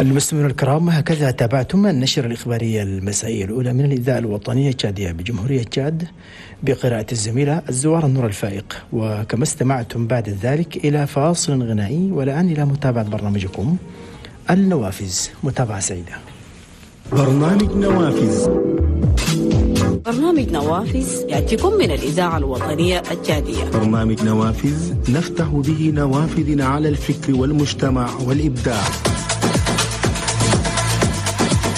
المستمعون الكرام، هكذا تابعتم النشرة الإخبارية المسائية الأولى من الإذاعة الوطنية التشادية بجمهورية تشاد بقراءة الزميلة الزوار النور الفائق، وكما استمعتم بعد ذلك إلى فاصل غنائي، والآن إلى متابعة برنامجكم النوافذ. متابعة سعيدة. برنامج نوافذ. برنامج نوافذ يأتيكم من الإذاعة الوطنية التشادية. برنامج نوافذ نفتح به نوافذنا على الفكر والمجتمع والإبداع.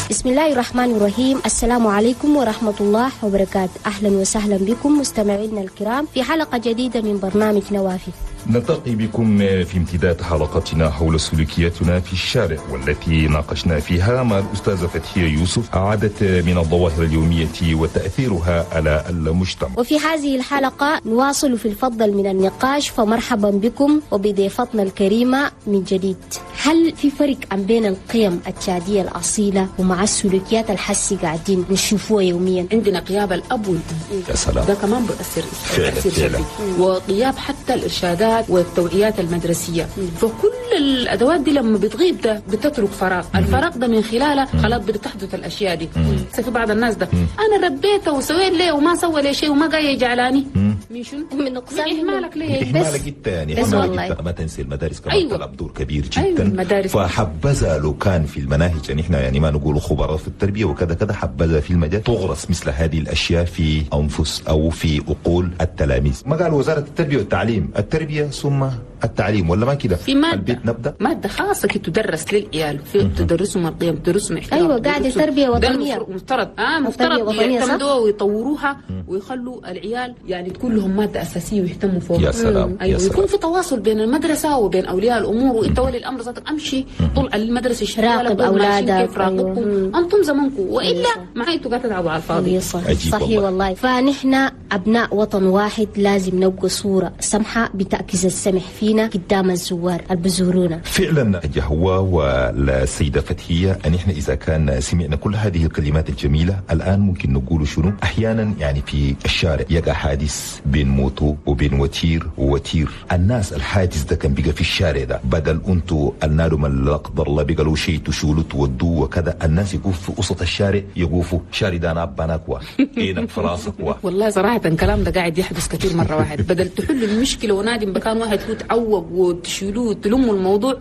بسم الله الرحمن الرحيم. السلام عليكم ورحمة الله وبركاته. أهلا وسهلا بكم مستمعينا الكرام في حلقة جديدة من برنامج نوافذ. نلتقي بكم في امتداد حلقتنا حول سلوكياتنا في الشارع، والتي ناقشنا فيها مع الأستاذة فتحية يوسف عدد من الظواهر اليومية وتأثيرها على المجتمع. وفي هذه الحلقة نواصل في الفضل من النقاش، فمرحبا بكم وبضيفتنا الكريمة من جديد. هل في فرق بين القيم التشادية الأصيلة ومع السلوكيات الحسي قاعدين نشوفوها يوميا؟ عندنا غياب الأب والأم، يا سلام، ده كمان بيأثر فعلا، وغياب حتى الإرشادات والتوعيات المدرسية. فكل الأدوات دي لما بتغيب ده بتترك فراغ، الفراغ ده من خلاله خلاص بتحدث الأشياء دي. في بعض الناس ده أنا ربيته وسويت ليه وما سوى لي شيء وما جاي يجعلاني من شنو؟ من نقصان إهمالك ليه؟ إهمالك أنت يعني، بس والله ما تنسي المدارس كمان. أيوة. تلعب دور كبير جدا. أيوة المدارس. فحبذا لو كان في المناهج، يعني احنا يعني ما نقول خبراء في التربية وكذا كذا، حبذا في المجال تغرس مثل هذه الأشياء في أنفس أو في عقول التلاميذ. ما قال وزارة التربية والتعليم، التربية ثم التعليم، ولا ما كده؟ في مادة البيت نبدأ مادة خاصة كي تدرس للعيال، في تدرسهم القيم، تدرسهم احترام. أيوة قاعدة تربية وطنية. مفترض مفترض يعتمدوها ويطوروها ويخلوا العيال يعني تكون لهم مادة أساسية ويهتموا فوق. يا سلام. أيوة يا سلام. ويكون في تواصل بين المدرسة وبين أولياء الأمور، وأنت ولي الأمر ذاتك أمشي طول على المدرسة، راقب أولادك، كيف راقبكم. أيوة. أنتم زمنكم، وإلا معي أنتوا قاعدة تلعبوا على الفاضي. صحيح والله. فنحن أبناء وطن واحد، لازم نبقى صورة سمحة بتعكس السمح فينا قدام الزوار اللي بزورونا. فعلا جهوة والسيدة فتحية، أن إحنا إذا كان سمعنا كل هذه الكلمات الجميلة الآن ممكن نقول شنو؟ أحيانا يعني في الشارع يقع حادث بين موتو وبين وتير ووتير، الناس الحادث ده كان بقى في الشارع ده، بدل أنتو النار ما لا قدر الله بقى له شيء تشولوا تودوه وكذا، الناس يقفوا في وسط الشارع، يقفوا شارع ده نابناكوا إينك فراسكوا. والله صراحة الكلام ده قاعد يحدث كثير مرة واحد، بدل تحل المشكلة ونادم بكان واحد هو تعوق وتشيلوه وتلموا الموضوع.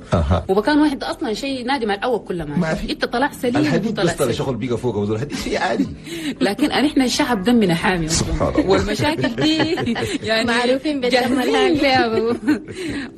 وبكان واحد اصلا شيء نادم على الاول كله ما انت طلع سليم، الحديد بس طلع شغل بيقى فوق وزول الحديد شيء عادي. لكن احنا الشعب دمنا حامي سبحان الله، والمشاكل دي يعني معروفين بالدم الحامي.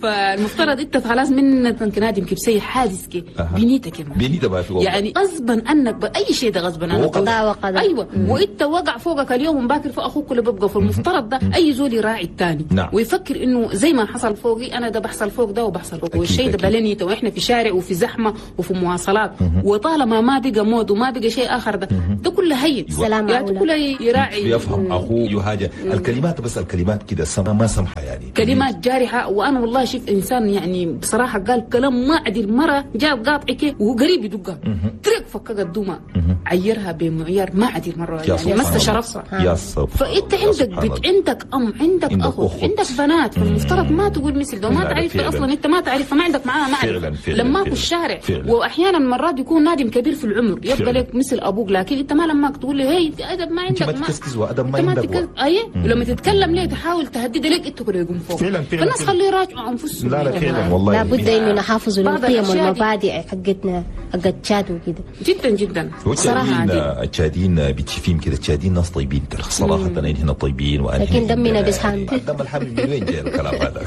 فالمفترض انت خلاص من نادم كيف حادث كي بنيتك بنيتك ما في يعني غصبا عنك باي شيء ده غصبا عنك قضاء وقدر. ايوه وانت وقع فوقك اليوم ومباكر فوق اخوك اللي بيبقى. فالمفترض ده اي زول يراعي الثاني. نعم. ويفكر انه زي ما حصل فوقي انا ده بحصل فوق ده وبحصل فوق، والشيء ده بلنيته، واحنا في شارع وفي زحمة وفي مواصلات، وطالما ما بقى مود وما بقى شيء اخر ده ده كله هين. سلام يعني كله يراعي يفهم اخوه يهاجر الكلمات، بس الكلمات كده ما سمحه يعني كلمات جارحه. وانا والله شفت انسان يعني بصراحة قال كلام ما عدل، مرة جاب قاطعك وهو قريب يدقها ترك فكك الدمى عيرها بمعيار ما عدل مرة يعني مس شرفها. يا سبحان. فانت عندك بنت، عندك ام، عندك اخو، عندك بنات، فالمفترض ما تقول مثل ده، ما تعرف اصلا انت ما تعرف، ما عندك معاها معرفة لما في الشارع. واحيانا مرات يكون نادم كبير في العمر يبقى لك مثل ابوك، لكن انت ما لما تقول له هي ادب ما عندك، ما تكسكس وادب ما عندك. اي ولما تتكلم ليه تحاول تهدد لك انت كله يقوم فوق. فعلا فعلا. فالناس خليه يراجعوا انفسهم. لا لا فعلا والله لابد انه نحافظ للقيم والمبادئ حقتنا حق تشاد وكده. جدا جدا صراحة. التشاديين بتشوفيهم كده، التشاديين ناس طيبين ترى صراحة، هنا طيبين، لكن دمنا بسحام. الدم الحامي من وين جاي الكلام هذا؟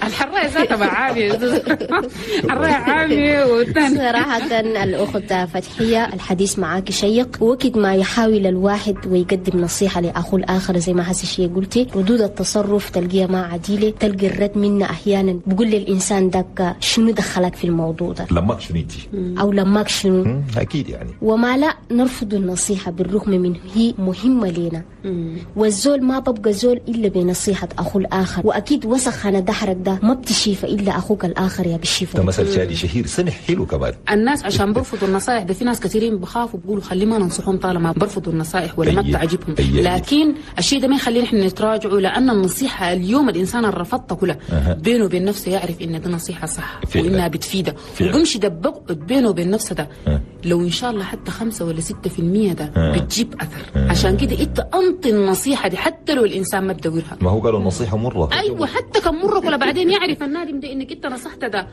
الحرايه ذاتها عامية، الحرايه عامية. والثاني صراحة الاخت فتحيه الحديث معاك شيق، وقت ما يحاول الواحد ويقدم نصيحة لاخوه الاخر زي ما حسي شيء قلتي، ردود التصرف تلقيها ما عديله، تلقي الرد منا احيانا بقول للانسان داك شنو دخلك في الموضوع ده، لماك شنو انتي او لماك شنو اكيد يعني. وما لا نرفض النصيحة بالرغم من هي مهمة لنا. والزول ما ببقى زول الا بنصيحة اخوه الاخر، واكيد وسخ انا دحرك ده ما بتشيفه الا اخوك الاخر يا بشيفه. ده مثل شادي شهير سمح حلو كمان. الناس عشان برفضوا النصائح ده في ناس كثيرين بخافوا بيقولوا خلي ما ننصحهم طالما برفضوا النصائح ولا ما بتعجبهم. لكن الشيء ده ما يخلينا احنا نتراجعوا، لان النصيحة اليوم الانسان اللي رفضتها كلها بينه وبين نفسه يعرف ان دي نصيحة صح وانها بتفيده، وبمشي ده بقعد يقعد بينه وبين نفسه ده لو ان شاء الله حتى 5 ولا 6% ده بتجيب اثر. عشان كده انت انطي النصيحة دي حتى لو الانسان ما تدورها. ما هو قالوا النصيحة مرة. ايوه حتى كم مرة ولا بعدين يعرف النادم ده انك انت نصحته ده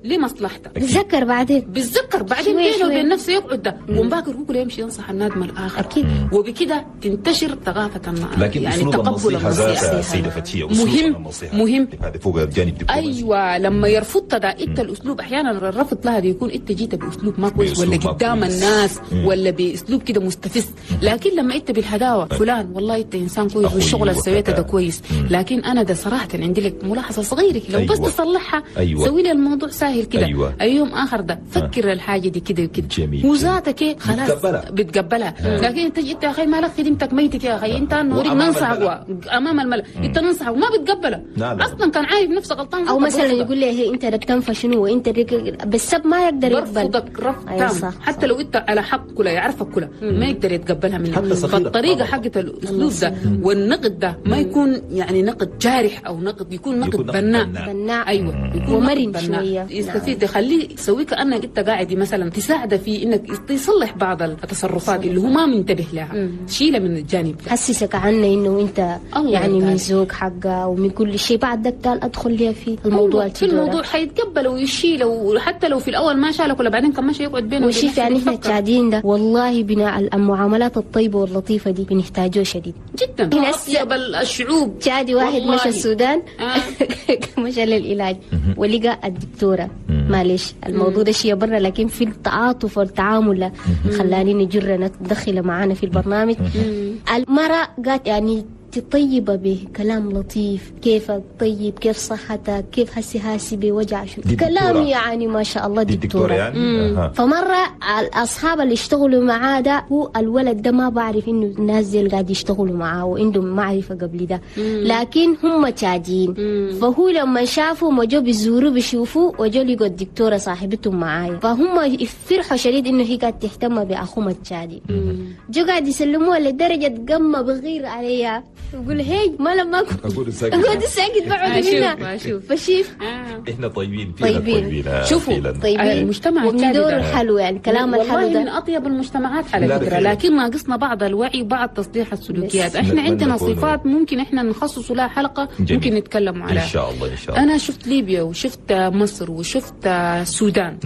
لمصلحته. بتذكر بعدين، بتذكر بعدين بينه وبين نفسه يقعد ده ومباكر هو يمشي ينصح النادم الاخر. اكيد. وبكده تنتشر ثقافة لكن يعني أسلوب تقبل النصيحة ذاتها سيده فتحيه مهم هذا فوق الجانب الدبلوماسي. ايوه لما يرفض ده انت الاسلوب احيانا الرفض لها بيكون انت جيت باسلوب ما كويس ولا قدام الناس ولا باسلوب كده مستفز. لكن لما انت بالهداوه فلان والله انت انسان كويس والشغل اللي سويته ده كويس، لكن انا ده صراحة عندي لك ملاحظة صغيرة لو بس تصلحها سوي لي الموضوع سهل كده. اي يوم اخر ده فكر الحاجة دي كده وكده وذاتك خلاص بتقبلها. لكن انت جيت يا اخي مالك خدمتك ميتك يا اخي انت نوريك ننصحك امام الملأ انت ننصحك وما بتقبله اصلا كان عارف نفسه غلطان. او مثلا يقول لي هي انت ركتنفه شنو وانت بالسب ما يقدر يقبل. رفضك رفض تام حتى لو انت على حق كله يعرفك كله ما يقدر يتقبلها منك. فالطريقه حقت الاسلوب ده والنقد ده ما يكون يعني نقد جارح او نقد، يكون نقد بناء. ايوه يكون ومرن شوية يستفيد، يخليه يسوي كانك انت قاعد مثلا تساعده في انك تصلح بعض التصرفات اللي هو ما منتبه لها، شيله من الجانب ده. حسسك عنه انه انت يعني من ذوق حقه ومن كل شيء. بعد ذاك قال ادخل لي في الموضوع. في الموضوع حيتقبل ويشيله، وحتى لو في الاول ما شالك ولا بعدين كان ماشي يقعد بينه وشيف. يعني احنا التعدين ده والله بناء المعاملات الطيبة واللطيفه دي بنحتاجه شديد جدا. اطيب الشعوب. تشادي واحد مشى السودان مشى للعلاج ولقى الدكتورة. معلش الموضوع ده شيء برا، لكن في التعاطف والتعامل خلاني نجر ندخل معانا في البرنامج. المرأة قالت يعني طيبة بكلام لطيف، كيفك طيب، كيف صحتك، كيف هسي هاسي بوجع شو كلام يعني ما شاء الله دكتورة يعني. فمرة الأصحاب اللي اشتغلوا معاه ده هو الولد ده ما بعرف إنه الناس زي اللي قاعد يشتغلوا معاه وعندهم معرفة قبل ده، لكن هم تاجين. فهو لما شافوا ما جو بيزوروا بيشوفوا وجو لقوا الدكتورة صاحبتهم معايا، فهم فرحوا شديد إنه هي قاعد تهتم بأخوهم التشادي. جو قاعد يسلموها لدرجة قمة بغير عليها يقول هي ما لما اقول ساكت اقول ساكت بعد منها. فشيف احنا طيبين طيبين. شوفوا طيبين المجتمع التشادي ده الحلو يعني كلام الحلو ده والله من اطيب المجتمعات على فكرة، لكن ناقصنا بعض الوعي وبعض تصليح السلوكيات. احنا عندنا صفات ممكن احنا نخصص لها حلقة ممكن نتكلم عليها ان شاء الله. ان شاء الله. انا شفت ليبيا وشفت مصر وشفت السودان.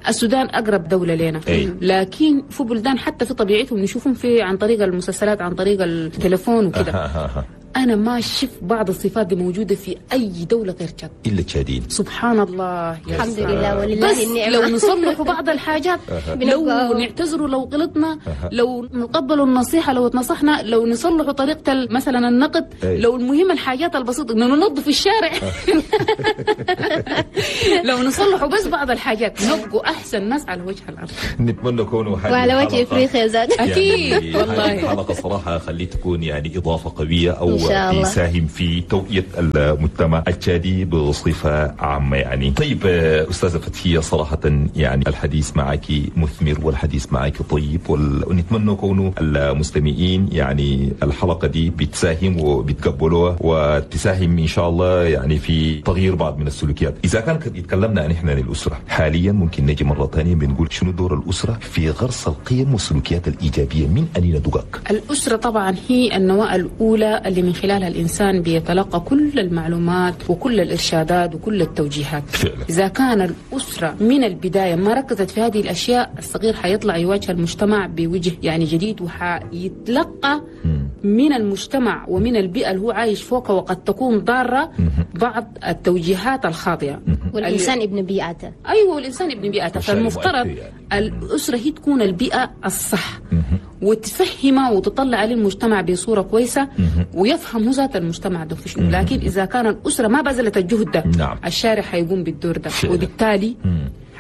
السودان اقرب دولة لنا، لكن في بلدان حتى في طبيعتهم نشوفهم في عن طريق المسلسلات عن طريق التليفون وكده. أنا ما شفت بعض الصفات دي موجودة في أي دولة غير تشاد إلا التشاديين. سبحان الله يا الحمد لله ولله النعمة. لو نصلحوا بعض الحاجات، لو نعتذروا لو غلطنا، لو نقبلوا النصيحة لو اتنصحنا، لو نصلحوا طريقة مثلا النقد، لو المهم الحاجات البسيطة إنه ننظف الشارع لو نصلحوا بس بعض الحاجات نبقوا أحسن ناس على وجه الأرض. نتمنى كونه وعلى وجه إفريقيا زاد أكيد والله. الحلقة صراحة خلي تكون يعني إضافة قوية أو يساهم في توعية المجتمع التشادي بصفة عامة يعني. طيب أستاذة فتحية، صراحة يعني الحديث معك مثمر والحديث معك طيب، ونتمنى كونه المستمعين يعني الحلقة دي بتساهم وبتقبلوها وتساهم إن شاء الله يعني في تغيير بعض من السلوكيات. إذا كان يتكلمنا عن إحنا عن الأسرة حاليا، ممكن نجي مرة ثانية بنقول شنو دور الأسرة في غرس القيم والسلوكيات الإيجابية من أنين دقاق؟ الأسرة طبعا هي النواة الأولى اللي من خلالها الإنسان بيتلقى كل المعلومات وكل الإرشادات وكل التوجيهات. فعلا. إذا كان الأسرة من البداية ما ركزت في هذه الأشياء، الصغير حيطلع يواجه المجتمع بوجه يعني جديد، وحيتلقى من المجتمع ومن البيئة اللي هو عايش فوقها، وقد تكون ضارة بعض التوجيهات الخاطئة. والإنسان ابن بيئته. أيوة والإنسان ابن بيئته، فالمفترض الأسرة هي تكون البيئة الصح وتفهمه وتطلع عليه المجتمع بصورة كويسة ويفهم ذات المجتمع ده في شنو. لكن إذا كان الأسرة ما بذلت الجهد ده، نعم، الشارع حيقوم بالدور ده، وبالتالي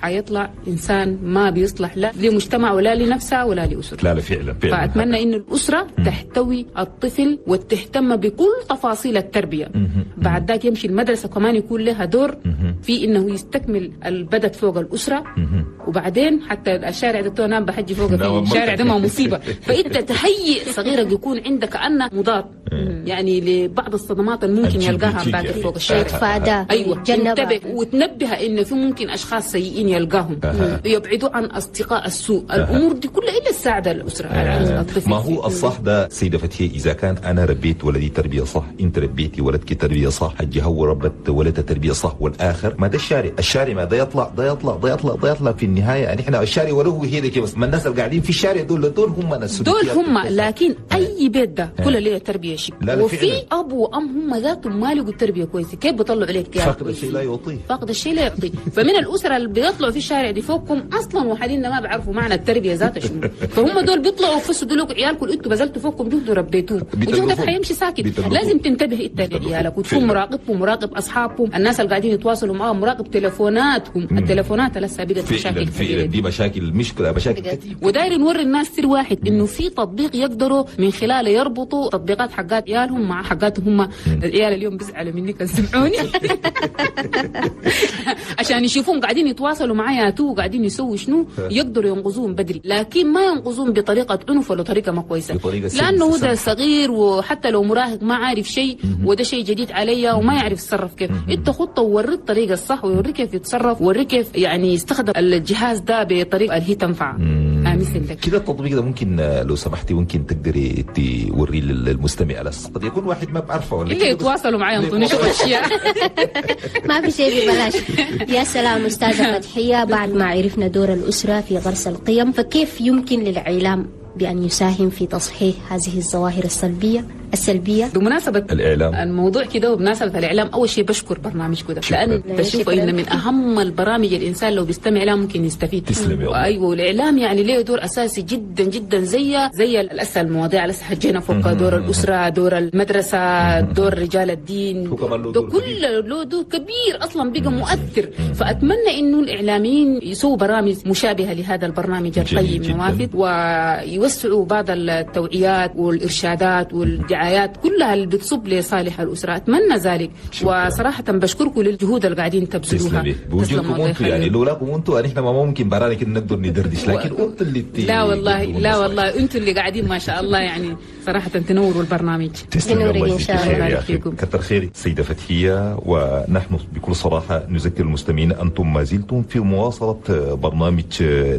حيطلع إنسان ما بيصلح لا لمجتمع ولا لنفسه ولا لأسرته. لا لا فعلا فعلا. فأتمنى إن الأسرة تحتوي الطفل وتهتم بكل تفاصيل التربية. بعد ذاك يمشي المدرسة كمان يكون لها دور في إنه يستكمل البدت فوق الأسرة. وبعدين حتى الشارع ده نام بحجي فوق في الشارع ده ما مصيبة. فأنت تهيئ صغيرك يكون عندك كأنه مضاد يعني لبعض الصدمات اللي ممكن يلقاها باكر فوق الشارع. يتفادى. ايوه، تنتبه وتنبه ان في ممكن اشخاص سيئين يلقاهم، يبعدوا عن اصدقاء السوء. الامور دي كلها الا تساعد الاسرة على الطفل. ما هو الصح ده سيده فتحيه، اذا كان انا ربيت ولدي تربيه صح، انت ربيتي ولدك تربيه صح، حجي هو ربت ولدها تربيه صح، والاخر ما ده الشارع، الشارع ما ده يطلع ده يطلع ده يطلع ده يطلع في النهاية. يعني احنا الشارع وله هي كده بس، ما الناس اللي قاعدين في الشارع دول هم ناس دول هم. لكن اي بيت ده كل ليه تربيه شيء، وفي اب وام هم ذاتهم ما لقوا التربية كويسة، كيف بيطلعوا عليك عيال؟ فاقد الشيء لا يعطيه، فاقد الشيء لا يعطيه. فمن الاسرة اللي بيطلعوا في الشارع دي فوقكم اصلا وحاليا ما بيعرفوا معنى التربية ذاتها شنو، فهم دول بيطلعوا فسدوا لكم عيالكم، انتوا بذلتوا فوقكم جهد وربيتوه، وجهدك حيمشي ساكت. لازم تنتبه انت لعيالك وتكون مراقبهم، مراقب اصحابهم، الناس اللي قاعدين يتواصلوا معاهم، مراقب تليفوناتهم. التليفونات لسه بقت مشاكل كبيرة، دي مشاكل مشكلة مشاكل كتير. وداير نوري الناس سر واحد، انه في تطبيق يقدروا من خلاله يربطوا تطبيقات حقات عيالهم مع حقاتهم هم. العيال اليوم بيزعلوا مني كان سمعوني عشان يشوفون قاعدين يتواصلوا معايا تو قاعدين يسووا شنو، يقدروا ينقذوهم بدري، لكن ما ينقذوهم بطريقة عنف ولا طريقه ما كويسة، لانه ده صغير وحتى لو مراهق ما عارف شيء، وده شيء جديد عليا وما يعرف يتصرف كيف. انت خطه ووريه الطريقة الصح، ووريه كيف يتصرف، ووريه كيف يعني يستخدم الجهاز ده بطريقة اللي هي تنفع. مثل كده التطبيق ده ممكن لو سمحتي ممكن تقدري توريه للمستمع على قد يكون واحد ما بعرفه ولا اللي يتواصلوا معي ينطوني شو اشياء. ما في شيء ببلاش. يا سلام استاذه فتحيه، بعد ما عرفنا دور الاسرة في غرس القيم، فكيف يمكن للاعلام بأن يساهم في تصحيح هذه الظواهر السلبية؟ بمناسبة الإعلام الموضوع كده، وبمناسبة الإعلام، أول شيء بشكر برنامجكم ده، لأن بشوف إن من أهم البرامج الإنسان لو بيستمع لها ممكن يستفيد. تسلم يا الله. أيوة، والإعلام يعني له دور أساسي جدا جدا، زي الأسئلة المواضيع اللي حجينا فوق، دور الأسرة، دور المدرسة، دور رجال الدين، ده كله له دور كبير أصلا بقى مؤثر. فأتمنى إنه الإعلاميين يسووا برامج مشابهة لهذا البرنامج القيم نوافذ، ويوسعوا بعض التوعيات والإرشادات والدعايات كلها اللي بتصب لصالح الأسرة. أتمنى ذلك. وصراحة بشكركم للجهود اللي قاعدين تبذلوها. بوجودكم انتم يعني، لولاكم انتم نحن ما ممكن برانا كده نقدر ندردش، لكن انتم اللي لا والله لا والله انتم اللي قاعدين ما شاء الله، يعني صراحة تنوروا البرنامج. تسلم الله إن شاء الله. كتر خيرك سيدة فتحية. ونحن بكل صراحة نذكر المستمعين أنتم ما زلتم في مواصلة برنامج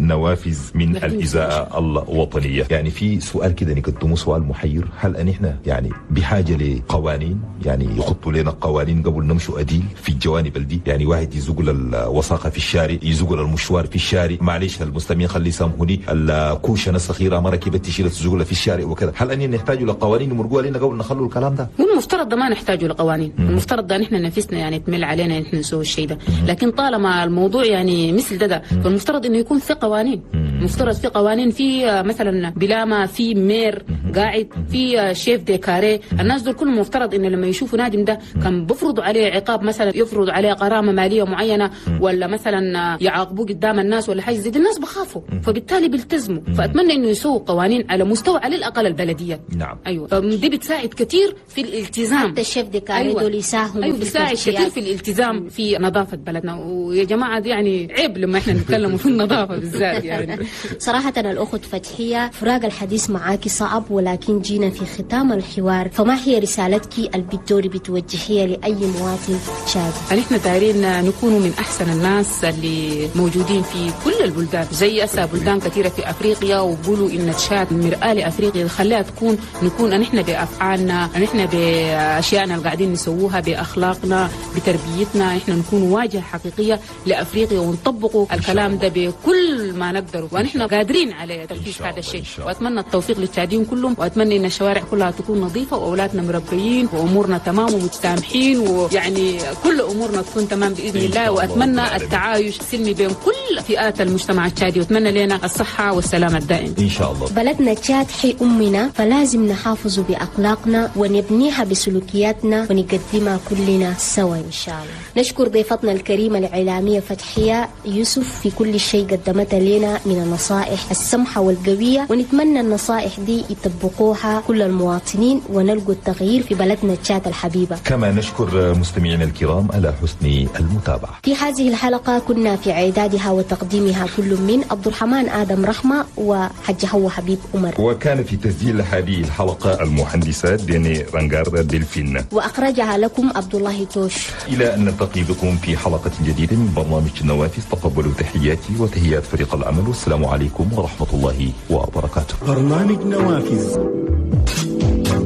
نوافذ من الإذاعة الوطنية. يعني في سؤال كده نقدمه، سؤال محير، هل أن احنا يعني بحاجة لقوانين، يعني يخطوا لنا قوانين قبل نمشوا أديل في الجوانب دي؟ يعني واحد يزقل الوساخة في الشارع، يزقل المشوار في الشارع، معلش المستمعين خلي يسامحوني، الكوشة الصغيرة مرة كيف تشيل تزقلها في الشارع وكذا. هل أن نحتاج لقوانين يمرقوها لنا قبل نخلوا الكلام ده؟ هو المفترض ده ما نحتاج لقوانين، المفترض ده نحن نفسنا يعني تمل علينا نحن نسوي الشيء ده، لكن طالما الموضوع يعني مثل ده فالمفترض انه يكون في قوانين. المفترض في قوانين، في مثلا بلاما، في maire قاعد، في chef de carré، الناس دول كلهم مفترض انه لما يشوفوا نادم ده كان بفرضوا عليه عقاب، مثلا يفرض عليه غرامة ماليه معينة، ولا مثلا يعاقبوه قدام الناس ولا حاجة زي دي، الناس بخافوا فبالتالي بيلتزموا. فاتمنى انه يسووا قوانين على مستوى على الاقل البلدية. نعم. ايوه، دي بتساعد كثير في الالتزام. حتى ال chef de carré دول يساهموا. ايوه، بتساعد كثير في الالتزام في نظافة بلدنا. ويا جماعة دي يعني عيب لما احنا نتكلم في النظافة بالذات يعني. صراحة الاخت فتحيه، فراق الحديث معاكي صعب، ولكن جينا في ختام الحوار، فما هي رسالتك اللي بتدوري بتوجهيها لاي مواطن شادي؟ نحن دايرين نكون من احسن الناس اللي موجودين في كل البلدان، زي اسا بلدان كثيرة في افريقيا، وبقولوا ان تشاد مرآة لافريقيا، خليها تكون نكون نحن بافعالنا، نحن باشيائنا اللي قاعدين نسووها، باخلاقنا، بتربيتنا، نحن نكون واجهه حقيقية لافريقيا، ونطبقوا الكلام ده بكل ما نقدر، ونحن قادرين على تنفيذ هذا الشيء. واتمنى التوفيق للتشاديين كلهم، واتمنى ان الشوارع كلها تكون نظيفة، واولادنا مربيين، وامورنا تمام ومتسامحين، ويعني كل امورنا تكون تمام باذن الله. واتمنى التعايش السلمي بين كل فئات المجتمع التشادي، واتمنى لنا الصحة والسلامة الدائم ان شاء الله. بلدنا تشاد حي امنا، فلازم نحافظ باخلاقنا ونبنيها بسلوكياتنا ونقدمها كلنا سوا ان شاء الله. نشكر ضيفتنا الكريمة الاعلامية فتحيه يوسف في كل شيء قدمتها لنا من النصائح السمحة والقويه، ونتمنى النصائح دي يطبقوها كل المواطنين. سنين ونلقوا التغيير في بلدنا تشاد الحبيبة. كما نشكر مستمعينا الكرام على حسن المتابعة. في هذه الحلقة كنا في إعدادها وتقديمها كل من عبد الرحمن آدم رحمة وحج هو حبيب عمر، وكان في تسجيل هذه الحلقة المهندسة ديني رانجار دلفين، وأخرجها لكم عبد الله توش. إلى أن نلتقي بكم في حلقة جديدة من برنامج النوافذ، تقبلوا تحياتي وتحيات فريق العمل، والسلام عليكم ورحمة الله وبركاته. برنامج نوافذ.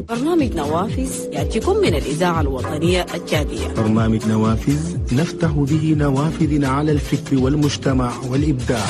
برنامج نوافذ يأتيكم من الإذاعة الوطنية التشادية. برنامج نوافذ نفتح به نوافذ على الفكر والمجتمع والإبداع.